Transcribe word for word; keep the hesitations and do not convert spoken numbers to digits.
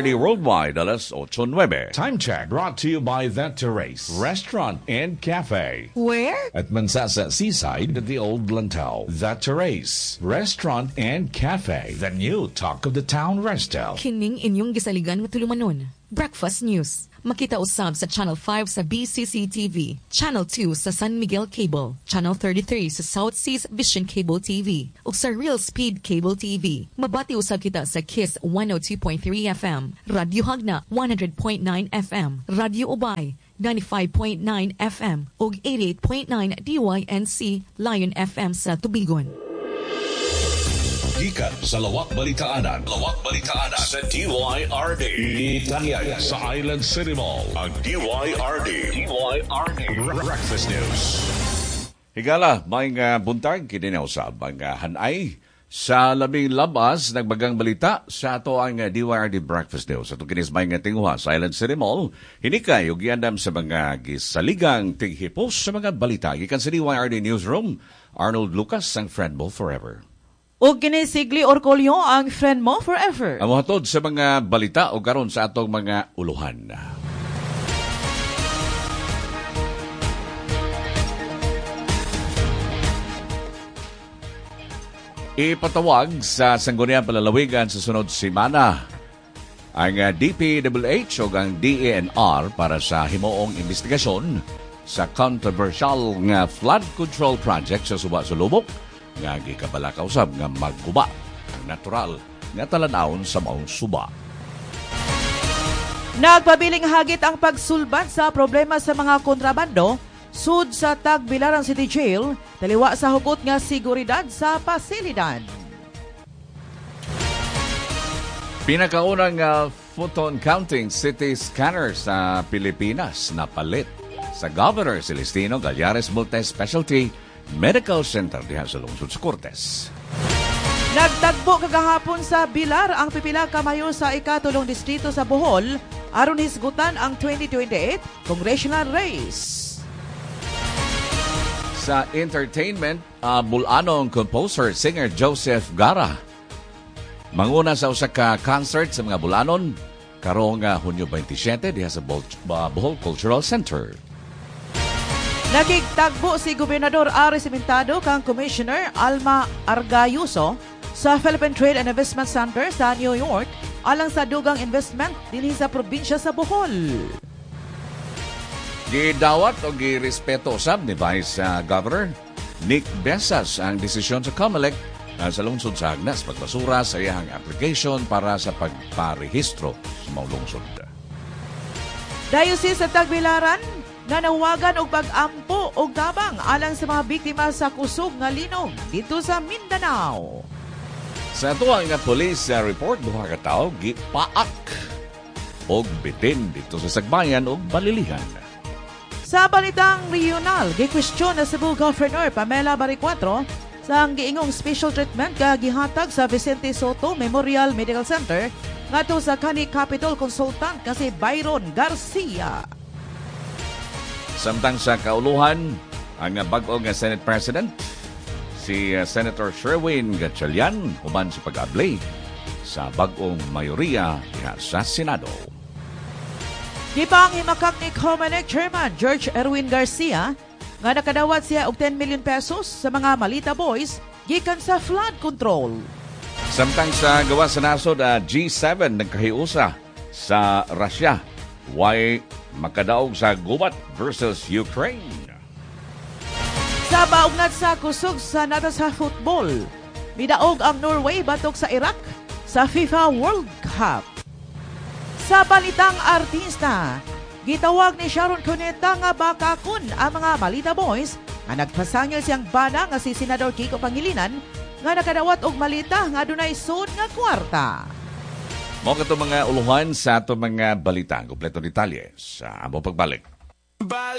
D Y R D Worldwide, alas otso nuwebe. Time check brought to you by That Terrace Restaurant and Cafe. Where? At Mansasa Seaside at the Old Lantau. That Terrace Restaurant and Cafe. The new talk of the town resto. Kining inyong gisaligan nga tulumanon. Breakfast News. Makita usab sa Channel five sa B C C T V, Channel two sa San Miguel Cable, Channel thirty-three sa South Seas Vision Cable T V, ug sa Real Speed Cable T V. Mabati usab kita sa KISS one oh two point three F M, Radyo Jagna one hundred point nine F M, Radyo Ubay ninety-five point nine F M ug eighty-eight point nine D Y N C Lion F M sa Tubigon. Gikan sa Lawak Balitaanan. Lawak Balitaanan sa D Y R D. Itanyag sa Island City Mall. Ang D Y R D. D Y R D Breakfast News. Higala, may nga buntag, kini na usab ang uh, hanay sa labing labas nagbagang balita sa ato ang uh, D Y R D Breakfast News. Ato kinis may nga tinguha sa Island City Mall. Hinikay ug giandam sa mga gisaligang tighipos sa mga balita. Gikan sa D Y R D Newsroom, Arnold Lucas, ang friend mo forever. Ug kini Sigli Orcolio, ang friend mo forever. Ang hatod sa mga balita o karon sa atong mga uluhan. Ipatawag sa Sangguniang Palalawigan sa sunod semana ang D P W H o ang D E N R para sa himuong investigasyon sa controversial nga flood control project sa Suba Sulubok nga gikabalaka usab nga magguba ang natural nga talan-awon sa maong suba. Nagpabiling hagit ang pagsulbat sa problema sa mga kontrabando sud sa Tagbilaran City Jail, taliwa sa hugot nga seguridad sa pasilidad. Pinakaunang uh, photon counting city scanner sa Pilipinas napalit sa Governor Celestino Gallares Multi-Specialty Medical Center diha sa lungsod sa Cortes. Nagtagbo kagahapon sa Bilar ang pipila ka mayor sa ikatulong distrito sa Bohol aron hisgutan ang twenty twenty-eight congressional race. Sa entertainment, uh, Bulanong composer, singer Joseph Gara manguna sa usa ka concert sa mga Bulanon karong uh, Hunyo twenty-seven diha sa Bol- uh, Bohol Cultural Center. Nakigtagbo si Gobernador Ari Cimentado kang Commissioner Alma Argayuso sa Philippine Trade and Investment Center sa New York alang sa dugang investment dinhi sa probinsya sa Bohol. Gidawat o girespeto usab ni Vice uh, Governor Nick Besas ang desisyon sa COMELEC uh, sa lungsod sa Agnas pagbasura sa iyang application para sa pagparehistro sa maong lungsod. Diocese sa Tagbilaran nanawagan og pag-ampo og tabang alang sa mga biktima sa kusog nga linog dito sa Mindanao. Sa ato ang police uh, report, duha ka tawo gipaak og bitin dito sa Sagbayan og Balilihan. Sa balitang regional, gikwestiyon na Cebu Governor Pamela Baricuatro sa ang giingong special treatment nga gihatag sa Vicente Soto Memorial Medical Center ngadto sa kani Capital Consultant nga si Byron Garcia. Samtang sa kauluhan, ang bag-o nga Senate President, si uh, Senator Sherwin Gatchalian, human sa pag-abli sa bag-ong mayoriya diha sa Senado. Gipang himakak ni Comelec Chairman George Erwin Garcia nga nakadawat siya og ten million pesos sa mga Malita Boys gikan sa flood control. Samtang sa gawas sa nasod, uh, G seven nagkahiusa sa Russia. Way makadaog sa gubat versus Ukraine? Sa baugnat sa kusog sa nata sa football, midaog ang Norway batok sa Iraq sa FIFA World Cup. Sa balitang artista, gitawag ni Sharon Cuneta nga bakakon ang mga Malita Boys nga nagpasangil siyang bana nga si Senador Kiko Pangilinan nga nakadawat og malita nga adunay sud nga kwarta. Mao kato mga uluhan sa ato mga balita. Kompleto detalye sa amo pagbalik.